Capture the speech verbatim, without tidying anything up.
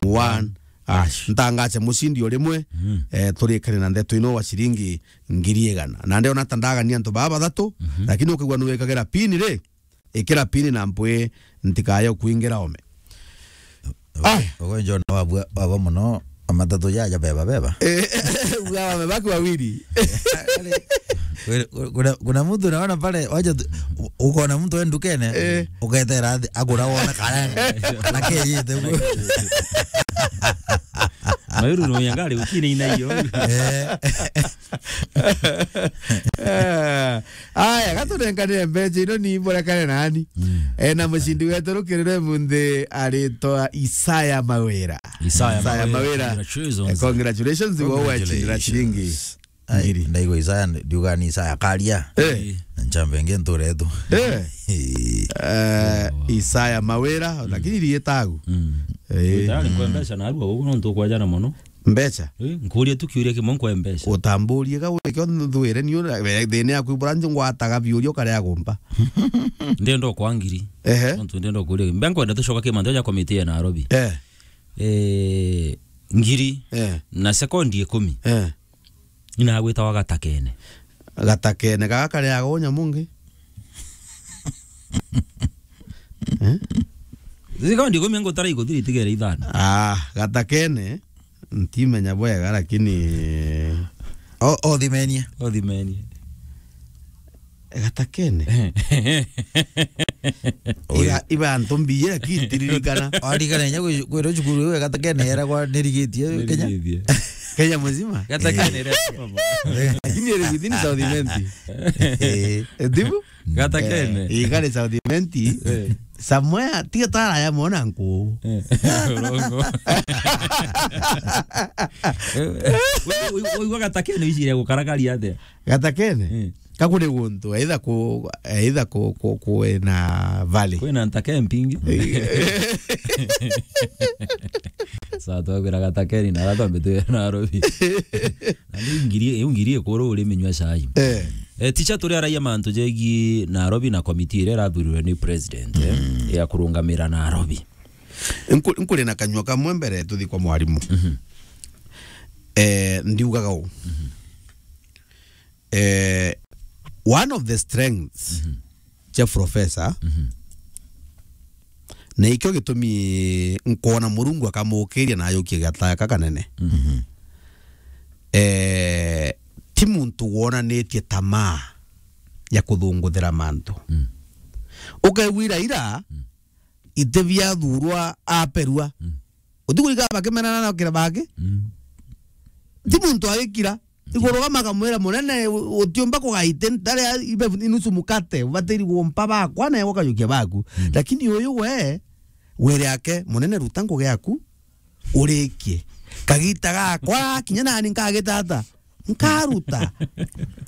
one hash. Ntangache mucindi o rimwe, eh, turikane na ndeto ino wa ciringi ngiri igana. Na ndiona ta ndagania antu baa bathatu, lakini ukigua nuwikagira pin ri, ikira pin na mpwi ntikaye kuingira ome. Ai. Ugo John wabua, wabua muno, matatu jaja beba beba. Eh, bua wame baki wawili. Kuna, kuna mtu naona pale, wacha tu, u-, ukaona mtu e ndukene, eh, uketera athi, agura wona kare, na keyite. Mayuru no yangari ukine ina iyo. Eh. Eh, aya, gatunenkanire mbeca ino ni mborekane nani. Mm. Eh, na mucindi wetu rukirire munthi aritwa Isaya Mawira. Isaya Isaya Mawira. Mawira. Congratulations. Eh, congratulations, wewe wacindira ciringi ngiri. Ai, ndaigua Isaya, ndiuga ni Isaya karia. Eh. Na nchambe nge nture tu. Eh. Eh, Isaya Mawira, lakini rietagu. Mm. Eh. Tayari kwa mbeca na arua uguo nontu kwajana muno. Mbeca? Eh, nkuria tu kiuria kimwe nkwe mbeca. Utamburie ga wike nthuire ni ura, we, thina yaku ibura nje ngwataga biuria ukarea gumpa. Ndenda kwa ngiri. Ehe. Nontu ndenda kuria. Mbe nkwenda tucoka kimanto ja komiti ya Nairobi. Eh. Eh, ngiri. Eh. Na sekondi ikumi. Eh. Ina gwitawa gatakene. Gatakene, gaga karia gonya mungi. Eh? Sekondi ikumi ngutara iguthiri itigere ithano. Ah, gatakene. Ntimenya bwega, lakini o-, othimenie. Othimenie. Gatakene. Iga, iba antu mbiye, lakini ntiririkana. Warikana inya kwi-, kwirwo cukuru iwe gatakene eragwa nirigitie Kenya. Nirigitie. Kenya muzima? Gatakene ira. Lakini iri within South Imenti. Eh. Eh, ndibu? Gatakene. Eh, igari South Imenti. Eh. Somewhere, tiga taraya mona nku. Eh. Urongo. Eh, eh, wi-, wi-, wigua gatakene wiciria gukaragaria atia? Gatakene? Eh. Kakuri guntu, either ku, either ku, ku, kwina valley. Kwina ntake mpingi. Eh. Sa twagwira gatakeni na ara twambe twi Nairobi. Na riu ngiri, iu ngiri ikuru uri minywa cai. Eh. Eh, ticha turi araia mantu jegi Nairobi na komiti iria irathurirwe ni president, eh, ya kurungamira Nairobi. Nku-, nkuri na kanyua kamwe mbere tuthi kwa mwarimu. Mhm. Eh, ndiugaga uu. Mhm. Eh, one of the strengths cia professor, na ikio gitumi nkwona Murungu akamukiria na ayukie gataya ka kanene. Eh, ti muntu wonanitie tamaa ya kuthunguthira mantu. Ukaigua ira ira, iti biathurwa aperua. Uti kurika bakimenana na kira baki? Ti muntu agikira. Iguru gama akamwira, "Munene, u-, utiumba kugaite ntare ibe inusu mukate, ubatiri gumpa bakwa, nawe ukajukia baku." Lakini uyu we, wire ake, "Munene, ruta ngugi yaku, urikie. Kagita gakwa, kinya nani nkagita ata?" Nkaruta.